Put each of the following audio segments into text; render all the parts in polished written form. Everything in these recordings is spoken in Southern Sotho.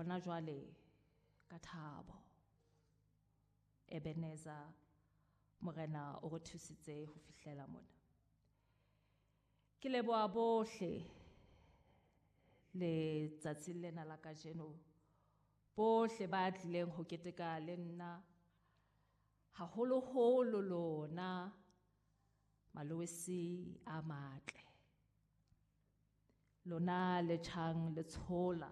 Hona jwale ka thabo Ebenezer Morena o re thusitse ho fihlela mona. Ke leboha bohle letsatsing lena la kajeno, bohle ba tlileng ho keteka le nna, haholoholo lona malowesi a matle, lona le tjhang le tshola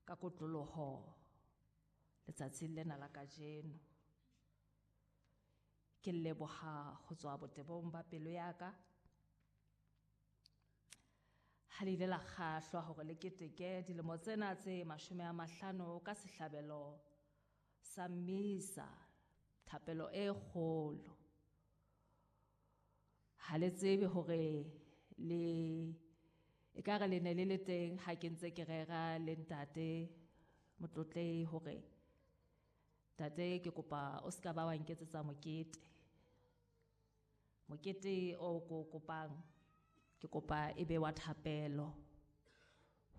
ka kotloloho letsatsing lena la kajeno. Ke leboha ho tswa botebong ba pelo ya ka. Ha le ile la kgahlwa hore le keteke dilemo tsena tse 50 ka sehlabelo sa mmisa, thapelo e kgolo. Ha le tsebe hore le ekare le ne le le teng ha ke ntse ke rera le ntate Motlotlehi hore ntate ke kopa o ska ba wa nketsetsa mokete. Mokete o ko kopang ke kopa e be wa thapelo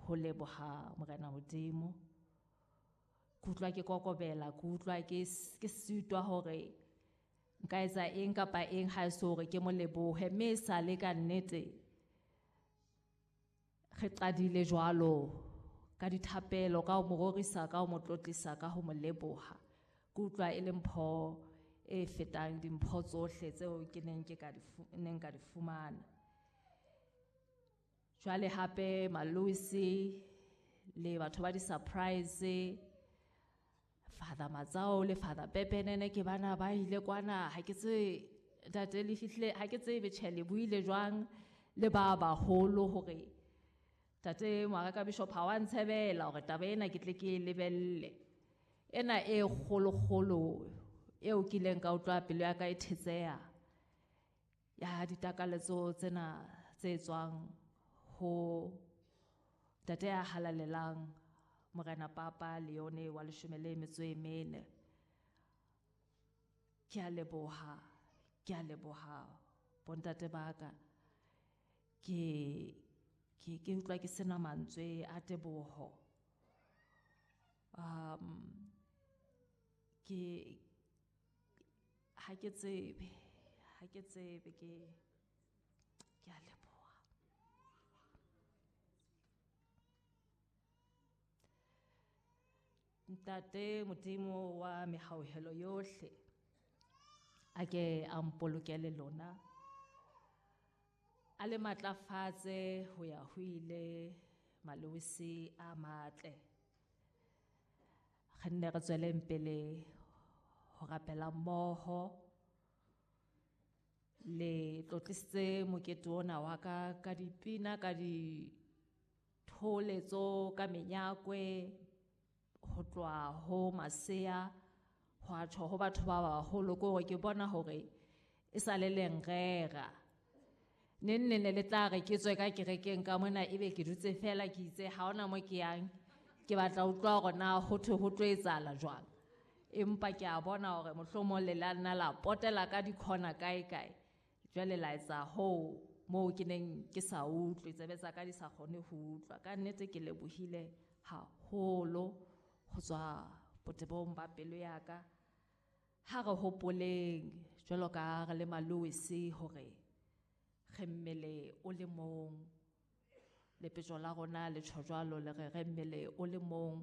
ho leboha Morena Modimo. Ke utlwa ke kokobela, ke utlwa ke sitwa hore nka etsa eng kapa eng ha e se hore ke mo lebohe, mme e sale ka nnete re qadile jwalo ka dithapelo, ka ho mo rorisa, ka ho mo tlotlisa, ka ho mo leboha. Ke utlwa e le mpho e fetang dimpho tsohle tseo ke neng ke ka di neng ka di fumana. Jwale hape Maloisi le batho ba di-surprise, Father Matsao le Father Pepenene ke bana ba ile kwana, ha ke tsebe ntate le fihlile, ha ke tsebe tjhe le buile jwang le ba baholo hore tate Moaraka Bishop ha wa ntshebela hore taba ena ke tle ke e lebelle. Ena e kgolokgolo eo ke ileng ka utlwa pelo ya ka e thetseha ya ditakaletso tsena tse tswang ho ntate ya halalelang Morena Papa Leone wa 14. Ke a leboha, ke a leboha bontate ba ka. Ke utlwa ke sena mantswe a teboho. Ke ha ke tsebe, ha ke tsebe, ke a leboha. Ntate Modimo wa mehauhelo yohle, a ke a mpolokele lona, a le matlafatse ho ya ho ile malowesi a matle. Re nne re tsweleng pele ho rapela mmoho. Le tlotlisitse mokete ona wa ka ka dipina, ka ditholetso, ka menyakwe, ho tloha ho masea ho a tjho ho batho ba baholo, ke hore ke bona hore e sa le lenrera. Neng neng le tla re ke tswe ka kerekeng ka mona ebe ke dutse fela ke itse ha hona mo ke yang, ke batla ho utlwa hore na ho thwe ho tlo etsahala jwang. Empa ke a bona hore mohlomong le la nna la potela ka dikhona kae kae, jwale la etsa hoo moo ke neng ke sa utlwe, tsebe tsa ka di sa kgone ho utlwa. Ka nnete ke lebohile haholo ho tswa botebong ba pelo ya ka. Ha re hopoleng jwalo ka re le malowesi hore re mmele o le mong, lepetjo la rona le tjho jwalo le re re mmele o le mong.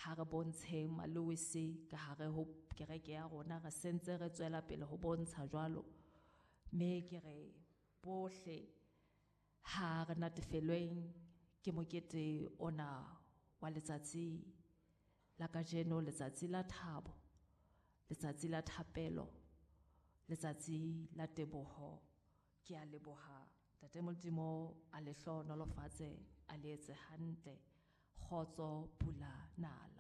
Ha re bontsheng malowesi ka hare ho kereke ya rona, re sentse re tswela pele ho bontsha jwalo. Mme ke re bohle ha re natefelweng ke mokete ona wa letsatsi la kajeno, letsatsi la thabo, letsatsi la thapelo, letsatsi la teboho. Ke a leboha Ntate Modimo, a le hlohonolofatse, a le etse hantle. Kgotso, pula, nala.